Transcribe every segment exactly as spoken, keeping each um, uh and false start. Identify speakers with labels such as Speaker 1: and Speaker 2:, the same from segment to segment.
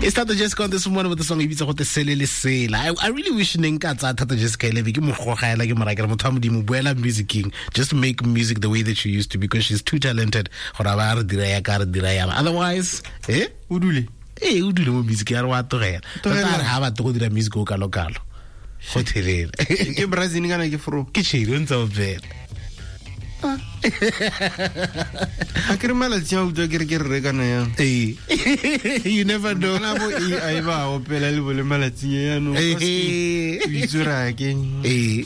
Speaker 1: It's Thato Jessica on this morning with the song e bitsa gote Sele le Sela. I, I really wish ne nka tsaya Thato Jessica ele be ke mo gogela ke mo raya ke re motho wa modimo boela musicing just make music the way that you used to because she's too talented gore a ba re dira ya ka re dira ya otherwise eh
Speaker 2: o dule
Speaker 1: eh o dule mo music ya re wa tlogela
Speaker 2: Tlogela.
Speaker 1: tota a re ha batle go dira music o kalo kalo go thelele
Speaker 2: ke brazil kana ke fro
Speaker 1: ke tšhedi o ntse o bela
Speaker 2: a ke re malatsi a utlwa ke re ke re kana yang
Speaker 1: ee you never know
Speaker 2: kana bo AI ba opela le bole malatsing a yanong
Speaker 1: Eh.
Speaker 2: o itse gore a ke
Speaker 1: Eh.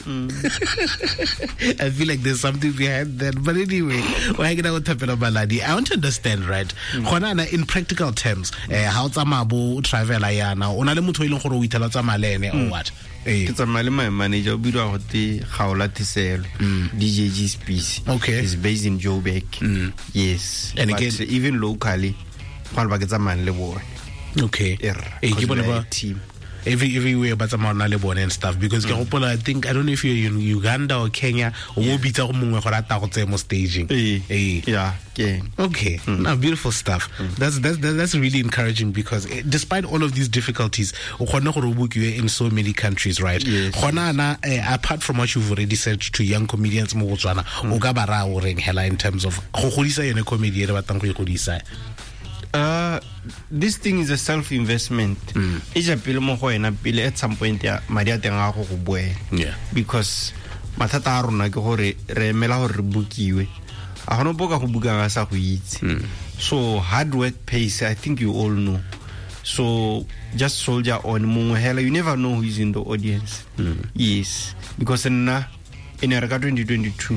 Speaker 1: I feel like there's something behind that. But anyway, why can I go Baladi? I want to understand, right? Gona na in practical terms, eh, how tsamaya bo travel yana, o na le motho e leng gore o ithela tsamaya le ene or what? Eh.
Speaker 2: ke tsamaya le my manager o bidiwa gote Gaola Teselo DJ G Space
Speaker 1: Okay.
Speaker 2: is based in Joburg yes
Speaker 1: And
Speaker 2: but
Speaker 1: again-
Speaker 2: even locally go le ba ke tsamayang le bone
Speaker 1: Okay.
Speaker 2: Err,
Speaker 1: Eh, ke
Speaker 2: 'cause
Speaker 1: bone
Speaker 2: we are
Speaker 1: ba
Speaker 2: a team
Speaker 1: every everywhere ba tsamaya na le bone and stuff because ke gopola I think I don't know if you're in Uganda or Kenya o bo bitsa go mongwe gore a tla go tseye mo staging.
Speaker 2: Eh.
Speaker 1: Eh.
Speaker 2: yeah ke
Speaker 1: Okay, no, beautiful stuff. That's that's that's really encouraging because eh, despite all of these difficulties, o kgone gore o bookiwe in so many countries, right?
Speaker 2: Yes.
Speaker 1: Gona na eh, apart from what you've already said to young comedians mo Botswana, o ka ba raya o reng hela in terms of go godisa yone comedy e re batlang go e godisa.
Speaker 2: Uh, this thing is a self investment e ja pele mo go wena pele at some point ya madi a teng a go go boela
Speaker 1: Yeah.
Speaker 2: because mathata a rona ke gore re emela gore re bookiwe a gona ope o ka go bukang a sa go itse so hard work pays i think you all know so just soldier on mongwe hela you never know who is in the audience yes because nna e ne re ka twenty twenty-two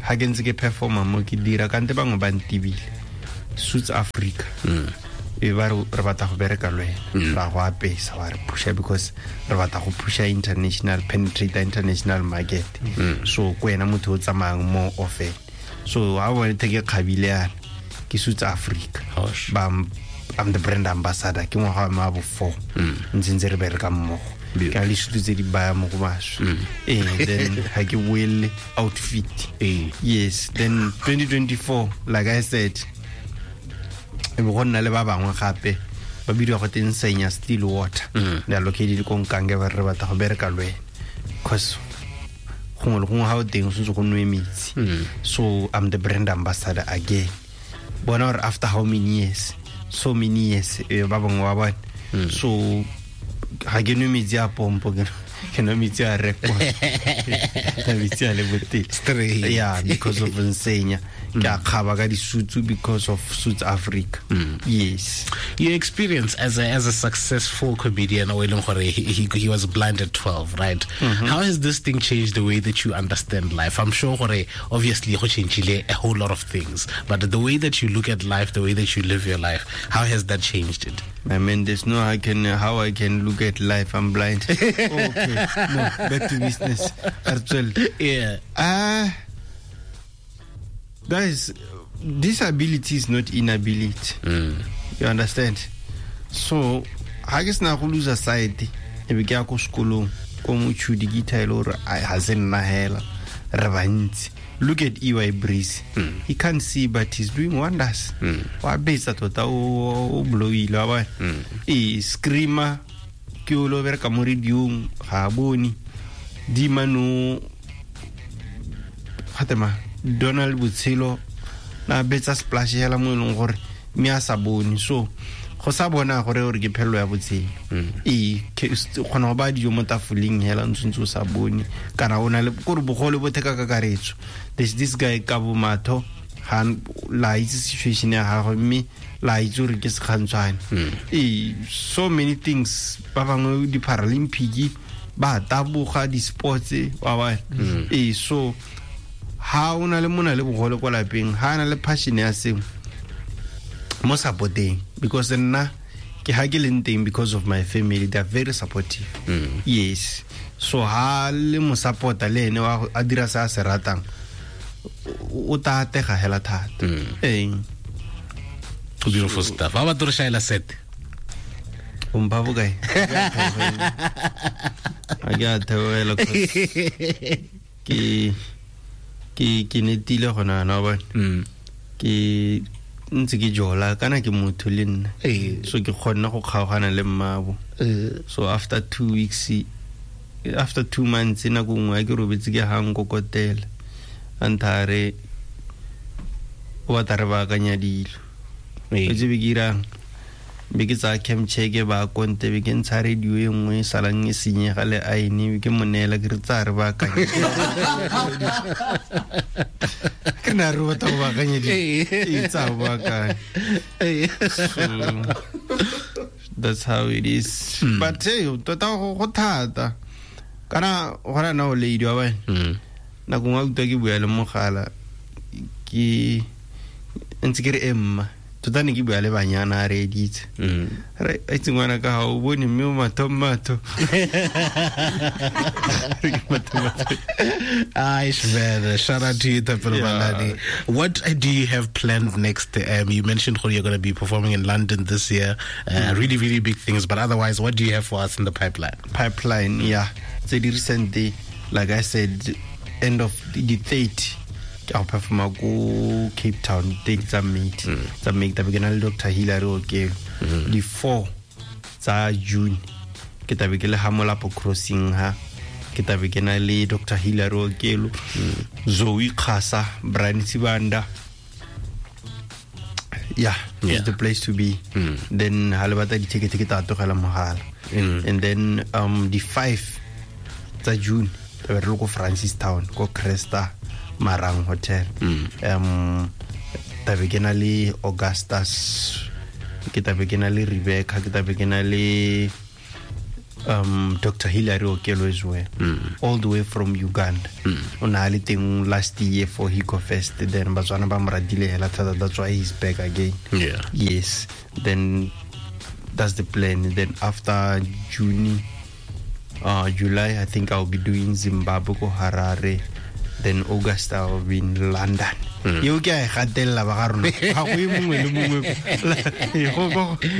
Speaker 2: ha ke ntse ke performa mo ke dira kante bangwe ba ntibile Suits Africa e ba re re batla go bereka le wena ra go apesa wa re pusha because re batla go pusha international penetrate international market so ko wena motho o tsamayang more often so ha bone the ke kgabile yana ke Suits Africa
Speaker 1: Gosh.
Speaker 2: ba I'm the brand ambassador ke ngwaga wa me wa bo four ntse ntse re bereka mmogo ke na le disutu tse di baya mo go maswe ee then ha ke boelle outfit
Speaker 1: Ee.
Speaker 2: yes then twenty twenty-four like i said e be go nna le ba bangwe gape ba bidiwa go teng Senya Still Water they are located ko Nkange ba re re batla go bereka le wena cause gongwe le gongwe ga o teng o sentse go nwe metsi so i'm the brand ambassador again bona gore after how many years so many years eh, ba bangwe ba bone so ga ke nwe metsi a pompo ke ke nwa metsi a rekwa metsi a le boteng
Speaker 1: Straight.
Speaker 2: yeah because of Nsenya ke a kgaba ka disutu because of Suits Africa yes
Speaker 1: Your experience as a as a successful comedian o e leng gore he, he, he was blind at twelve, right? How has this thing changed the way that you understand life? I'm sure gore obviously go changile a whole lot of things, but the way that you look at life, the way that you live your life, how has that changed it?
Speaker 2: I mean, there's no I can how I can look at life. I'm blind. Okay, no, back to business. Actually,
Speaker 1: Yeah.
Speaker 2: ah, uh, guys, disability is not inability. You understand? So, ha ke sena go lose sight, e be ke ya ko sekolong ko motšhudi ke ithaele gore ai, ha se nna hela re bantsi. Look at E Y Breeze. He can't see but he's doing wonders. Wa betsa tota o o blowile wa bona. Ee, screamer ke o lo bereka mo radiong ga a bone. Dimano gatema Donald Botshelo na betsa splash hela mo e leng gore mme a sa bone so go sa bona gore gore ke phelelo ya botshelo ee ke- o kgona go baya dijo mo tafoleng hela ntse ntse o sa bone kana o na le kore bogole bo theka kakaretso there's this guy ka bo matho ga la itse situation ya gagwe mme la itse gore ke sekgantshwane ee so many things ba bangwe di-paralympic ba taboga di-sports wa bona ee so ha o na le mona le bogole kwa lapeng ha na le passion ya sengwe mo supporteng because nna ke ha ke leng teng because of my family they are very supportive mm. yes so ha le mo supporta le ene wa a dira se a se ratang o o ta atega hela thata ee
Speaker 1: Beautiful stuff. How about Shaila set?
Speaker 2: o mpha bokae a ke a theogela 'cause ke ke ke netile gona yana wa bona
Speaker 1: Mm.
Speaker 2: ke ntse ke jola kana ke motho le nna
Speaker 1: Ee.
Speaker 2: so ke kgonne go kgaogana le mmabo
Speaker 1: Eh.
Speaker 2: so after two weeks after two months nako nngwe a ke robetse ke ga nkokotela a ntha re o batla re baakanya dilo
Speaker 1: Ee.
Speaker 2: o tsebe ke irang be ke tsaya cam check ba konte be ke ntsha radio e nngwe e salang e senyega le aene be ke mo neela ke re tsaya re baakanye ke ne a re o batla go baakanya dilo
Speaker 1: Ee.
Speaker 2: ee tsaya o baakanye
Speaker 1: Ee.
Speaker 2: so that's how it is but hey tota go go thata kana gona na o lady wa bane
Speaker 1: Mm.
Speaker 2: nako nngwe a utlwa ke bua le mogala ke ntse ke re emma tota ne ke bua le banyana a reeditse
Speaker 1: Mm.
Speaker 2: re aitse ngwana ka ga o bone mme o matho matho Re ke matho-matho.
Speaker 1: Aish, man. Shout out to you, Thapelo
Speaker 2: Yeah.
Speaker 1: Mahlane. What uh, do you have planned next? Um, you mentioned how you're going to be performing in London this year. Uh, Really, really big things. But otherwise, what do you have for us in the pipeline?
Speaker 2: pipeline yeah tse di recent like i said end of the thirty ke a go performa ko cape town thirty tsa may tsa may ke tabe ke na le dr hillary okelo di four tsa june ke tabe ke le ha molapo crossing ha ke tabe ke na le dr hillary okelo zoe kgasa brian sibanda yeah,
Speaker 1: Yeah.
Speaker 2: it's the place to be then ha le batla di-ticket ke tla tlogela mogala and then um di five tsa june tlabe re le ko francistown ko cresta marang hotel um tabe ke na le augustus ke tabe ke na le rebecca ke tabe ke na le um dr hillary okelo as well all the way from uganda o ne a le teng last year for hico fest then batswana ba mo ratile hela thata that's why he's back again
Speaker 1: Yeah.
Speaker 2: yes then that's the plan then after june uh, july i think i'll be doing zimbabwe ko harare then august i'll be in london eo ke a e gatelela ba ga rona ga go ye mongwe le mongwe Ee, go- go-